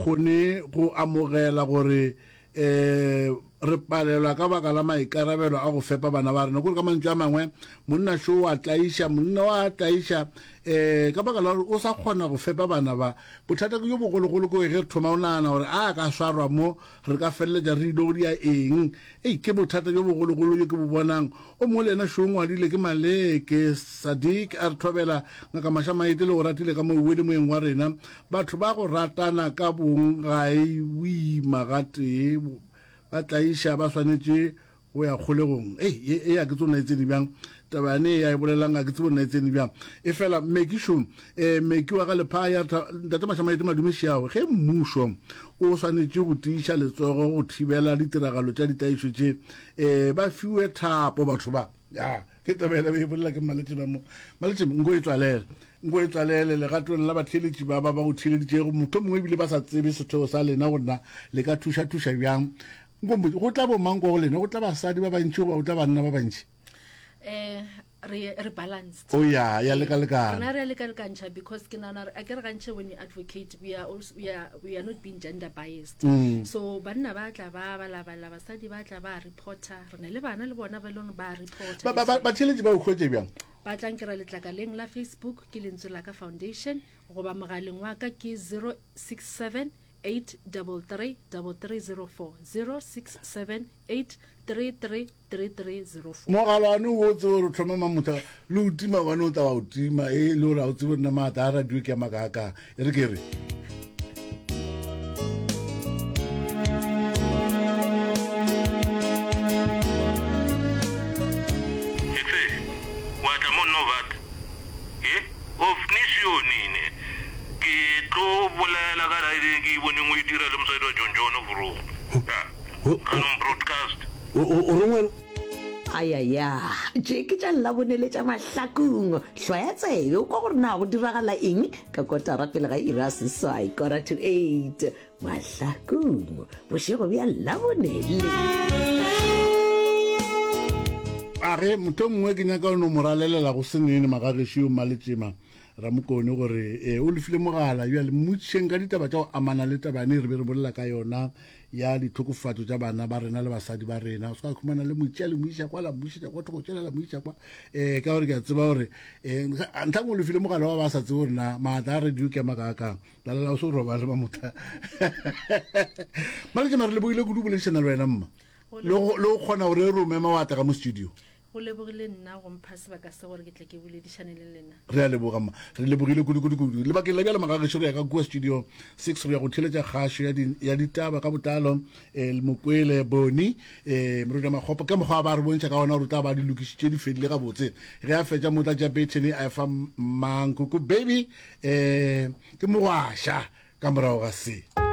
kgone go amogela gore um re palelwa ka baka la maikarabelo a go fepa bana ba rena. Kore ka mantšu a mangwe, monna šo wa tlaiša, monna wa tlaiša um ka baka la gore o sa kgona go fepa bana ba. Bothata ke jo bogologolo ke ge re thoma go nagana gore a ka swarwa mo re ka feleletša re ile go dia eng. Ei, ke bothata bjo bogologolo bjo ke bo bonang. O mongwe le yena šo o ngwadile ke Maleke Sadiq a re thobela Ngaka Mašamaite le go ratile ka mo wele moyeng wa rena. Batho ba go ratana ka bong ga e boima gatee ba tlaiša ba swanetše go ya kgolegong. Ei, ye, ye a ke tsebo na e tsene bjang. Taba yane ye a e bolelang ga ke tsebo na e tsene bjang. Efela Meki šo, eh, Meki wa ga Lephaya, Ntate Mašamaite Madume Šiago, ge mmušo o swanetše go tiiša letsogo go thibela ditiragalo tša ditlaišo tše, eh, ba fiwe thapo batho ba. Ya, ke taba yela be e bolela ke Mmaletšema mo. Mmaletšema, nko e tswalele. Nko e tswalele legatong la batheeletši ba ba ba go theeleditšego, mohlomongwe ebile ba sa tsebe setheo sa lena gore na le ka thuša-thuša bjang. Nko mpotše, go tla bomang kwa go lena? Go tla basadi ba bantši goba go tla banna ba bantši? Eh, re re balanced. O ya, ya lekalekana. Rena re a lekalekantšha because ke nagana gore akere gantši when we advocate we are also, we are, we are not being gender biased. Mm. So banna ba tla ba balabala, basadi ba tla ba reporter, re na le bana le bona ba e leng ba reporter. Ba, ba, ba, batheeletši ba o hwetše bjang? Ba tla nkira letlakaleng la Facebook ke Lentswe la Ka Foundation goba mogaleng wa ka ke 067 833 3304, 067 833 3304. Mogala wane o tsebe gore o tlhoma mamotha le o tima wane o tla wa o tima e le gore ga o tsebe nna maatla a radio ke a makaakang e re ke re Etse, wa tla mo nna o bata. He, of nisio nine. Ke tlo bolela ka raeding ke e boneng o e dira le mosadi wa John John vroeg. Ya, ganong broadcast. O, o, o reng wena? Ayaya, tše ke tša Labone le tša Mahlakong. Hlwaya tsebe o kwa gore na go diragala eng ka kotara pele ga iri ya seswai, quarter to eight. Mahlakong, bošego bja Labone le. A re, Mohlomongwe ke nyaka go no mo ralelela go se nene magagešo yo Mmaletšema Ramokone gore e, o lefile mogala. Bjale mmotšišeng ka ditaba tša go amana le taba yane re be re bolela ka yona ya ditlhokofatšo tša bana ba rena le basadi ba rena. O se ka khumana le mo tšea le mo iša kwa la mmušetša kwa thoko tšela la mo iša kwa. Um ka gore ke a tseba gore um ntlha ngwe o lefile mogala wa ba sa tsebe gore na maatla a radio ke a makaakang. Lalela o se o robale mamotha. Mmaletšema re lebogile kudu boledišana le wena mma. Le go kgona gore re o mema wa tla ka mo studio. Go lebogile nna go mpha sebaka se gore ke tle ke boledišane le lena. Re a leboga mma. Re lebogile kudu kudu kudu. Lebakeng la bjale magagešo re ya ka kua studio 6 re ya go theeletša kgašo ya, di, ya ditaba ka botlalo eh, Mokwele Boni eh, Moruti Makgopo ka mokgwa ba re bontšha ka ona gore o tla ba di lokišitše di fedile gabotse. Ge a fetša mo tla tša bethene a efa Mmankoko baby eh, ke mogwaša ka morago ga se.